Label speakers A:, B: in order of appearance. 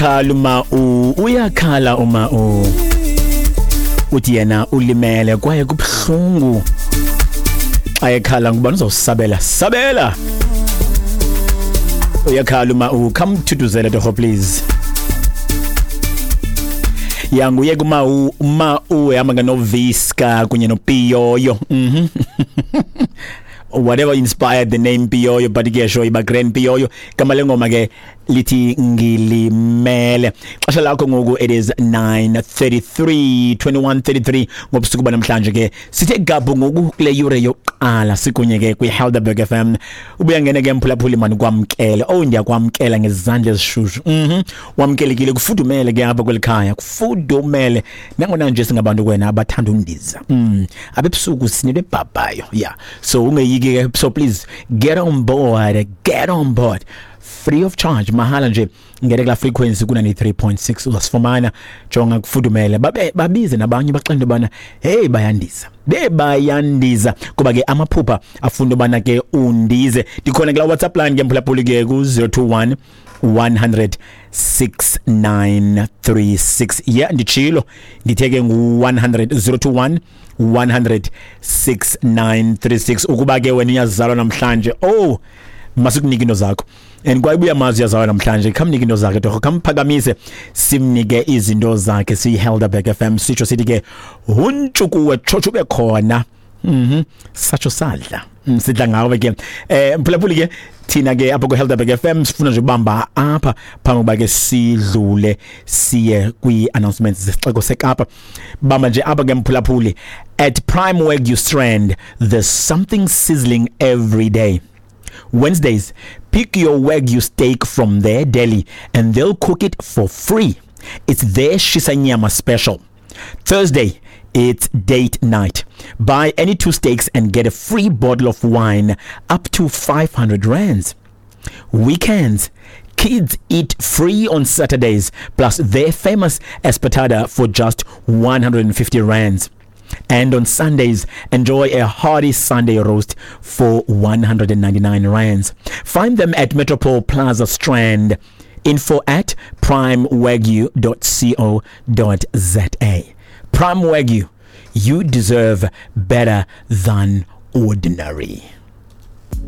A: Khala uma u uyakhala uma u uthi yena ulimele kwaye kubuhlungu xa ekhala, ngubani uzawusabela? Sabela. Uyakhala uma u khamthuthuzele torho, please. Ya, nguye kuma u ma u ehamba nganoviska kunye nopiyoyo. Whatever inspired the name Piyoyo, but ke sho iba grand Piyoyo. Igama lengoma ke lithi Ngilimele. Xesha lakho ngoku, it is 9:33, 21:33 ngobusuku banamhlanje. Ke sithe gabhu ngoku kule yure yokuqala, sikunye ke kwi-Helderberg FM. Ubuya ngene ke, mphulaphuli, mani kwamkele. Oh, ndiyakwamkela ngezandla ezishushu. Wamkelekile, kufudumele ke apha kweli khaya, kufudumele nangona nje singabantu kwena abathanda undiza. Abebusuku sinento ebhabhayo, yeah, so ungeyiki ke. So please get on board, get on board free of charge, mahala nje. Ngene kula frequency ku 93.6, uzasifumana. Jonga, kufudumele. Babe babize nabanye, baxele into yobana hey, bayandiza, bebayandiza, kuba ke amaphupha afunda ubana ke undize. Ndikhona kula WhatsApp line ke, mphulaphuli, ke ku 021 100 6936. Yeah, nditshilo, ndithe ke ngu 100, 021 100 6936. Ukuba ke wena uyazalwa namhlanje, oh, masikunike into zakho. And kwaye ubuya mazi uyazalwa namhlanje, khamnike into zakhe torho, khamphakamise simnike izinto zakhe. Siyi-Helderberg FM sitsho sithi ke huntshukuwe tshotsho ube khona. Satsho sadla. Sidla ngawe ke, mphulaphuli. Ke thina ke apha ku-Helderberg FM sifuna nje ubamba apha phambi kokuba ke sidlule siye kwi-announcements zesixeko seKapa. Bamba nje apha ke, mphulaphuli. At Prime Wagyu Strand, there's something sizzling every day. Wednesdays, pick your Wagyu steak from their deli and they'll cook it for free. It's their Shisanyama special. Thursday, it's date night. Buy any two steaks and get a free bottle of wine up to 500 rands. Weekends, kids eat free on Saturdays, plus their famous espetada for just 150 rands. And on Sundays, enjoy a hearty Sunday roast for 199 rands. Find them at Metropole Plaza Strand. Info at primewagyu.co.za. Prime Wagyu, you deserve better than ordinary.